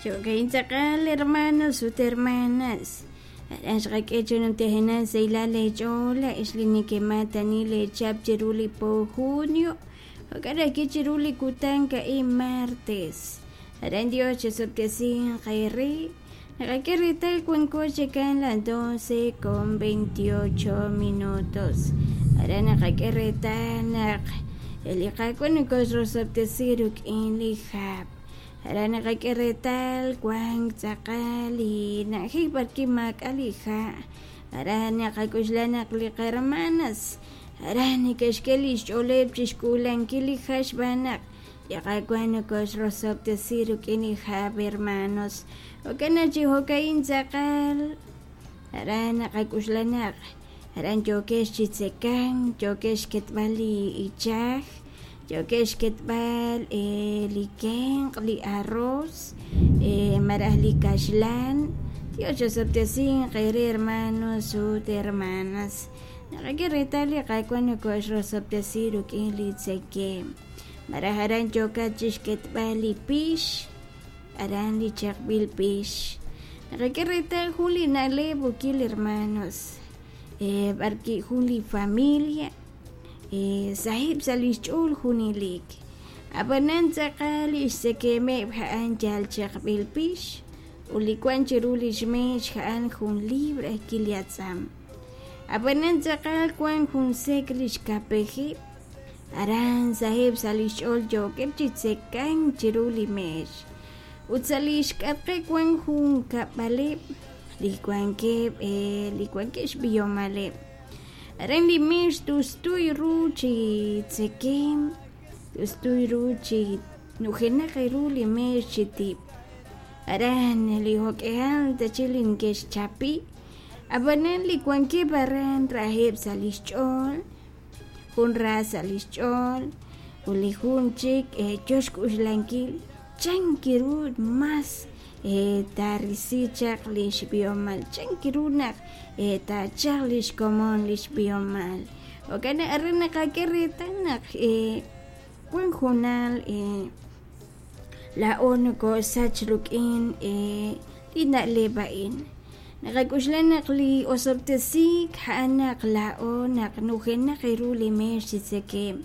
Jo'ka'in tz'aqal hermanos ut hermanas. Aran xqak'e chi numtajenaq sahilal eech'ool laa'ex li nekemaatani leechihab' chiru li po junio, jo'kan ajwi' chiru li kutan a'in martes. Aran Dios chisob'tesinq eere. Naqak'e reetal wanko chikan las 12 con 28 minutos. Aran naqak'e reetal naq li Qaawa' nokoxrosob'tesi rik'in li hab'. Aran naqak'e reetal wank tz'aqal li na'ajej b'arwi' maak'a' li ha'. Aran naqak'oxla naq li qahermanas aran neke'xk'e li xch'ooleb' chi xk'uulankil li ha' xb'aan naq li Qaawa' nokoxrosob'tesi rik'in li hab', hermanos. Jo'kan naq chi jo'ka'in tz'aqal aran naqak'oxla naq aran yookex chi tzekank, yookex xketb'al li ichaj, yookex xketb'al li kenq', li arroz, malaj li kaxlan. Dios chosob'tesinq eere hermanos ut hermanas. Naqak'e reetal li Qaawa' nokoxrosob'tesi rik'in li tzekemq. Malaj aran yookat chi xketb'al li pix, aran li chaqb'il pix. Naqak'e reetal jun li na'leb' ukil hermanos, b'arwi' jun li familia saheb' sa' li xch'ool junelik. Ab'anan tz'aqal li xtzekemeb' a'an yal chaqb'il pix ut li wank chiru li xmeex a'an jun libra ajwi' li atz'am. Ab'anan tz'aqal wank jun sek' li xkapejeb', aran saheb' sa' li xch'ool yookeb' chi tzekank chiru li meex. Ut sa' li xk'atqeb' wank jun kab'aleb' li wankeb' li wankeb' xb'ihomaleb'. Aran li meex tustuy ru chi tzekemq, tustuy ru chi nujenaq ru li meex chi tib'. Aran li jo'k'ihal tachi li neke'xchapi, ab'anan li wankeb' aran raheb' sa' li xch'ool, jun ra sa' li xch'ool ut li jun chik yo xk'uxlankil chan ru mas taarisi chaq li xb'ihomal, chan ru naq taachalq li xkomon li xb'ihomal. Jo'kan naq aran naqak'e reetal naq wank hoonal laa'o nokosach rik'in li na'leb' a'in. Naqak'oxla naq li osob'tesiik a'an naq laa'o naq nujenaq ru li meex chi tzekemq.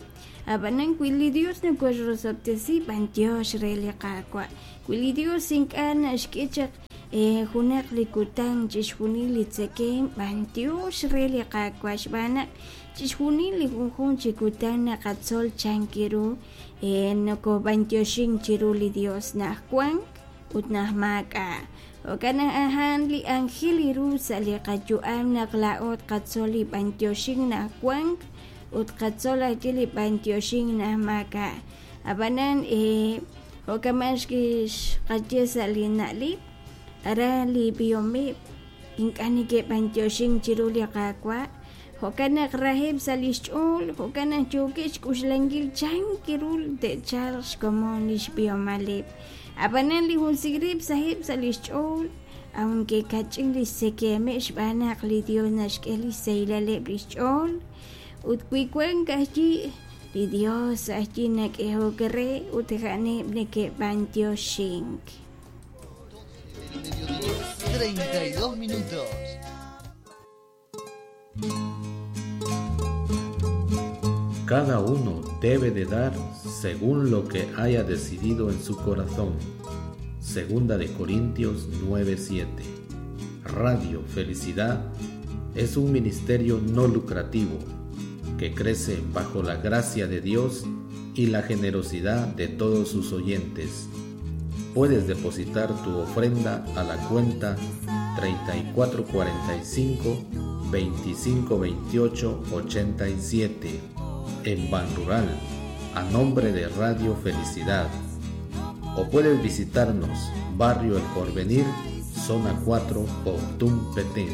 Ab'anan wi li Dios nokoxrosob'tesi, b'antiox re li Qaawa'. Wi li Dios ink'a' naxk'e chaq junaq li kutan chixjunil li tzekemq, b'antiox re li Qaawa' xb'aan naq chixjunil li junjunq chi kutan naqatzol chan ru nokob'antioxink chiru li Dios naq wank ut naq maak'a'. Jo'kan naq a'an li anjel ru sa' li qayu'am naq laa'o tqatzol li b'antioxink naq wank ut tqatzol ajwi' li b'antioxink naq maak'a'. Ab'anan jo'kan xqaye sa' li na'leb', aran li b'ihomeb' ink'a' neke'b'antioxink chiru li Qaawa', jo'kan naq raheb' sa' li xch'ool, jo'kan naq yookeb' xk'uxlankil chan ru te'chalq xkomon li xb'ihomaleb'. Ab'anan li jun sigrib' saheb' sa' li xch'ool, aunque kach'in li xtzekemeb' xb'aan naq li Dios naxk'e li xsahilaleb' li xch'ool. Ut wi wank ajwi' li Dios ajwi' nak'ehok re ut a'aneb' neke'b'antioxink. 32 minutos. Cada uno debe de dar según lo que haya decidido en su corazón. Segunda de Corintios 9:7. Radio Felicidad es un ministerio no lucrativo que crece bajo la gracia de Dios y la generosidad de todos sus oyentes. Puedes depositar tu ofrenda a la cuenta 3445 2528 87 en Banrural a nombre de Radio Felicidad. O puedes visitarnos Barrio El Porvenir, Zona 4, Poptún, Petén.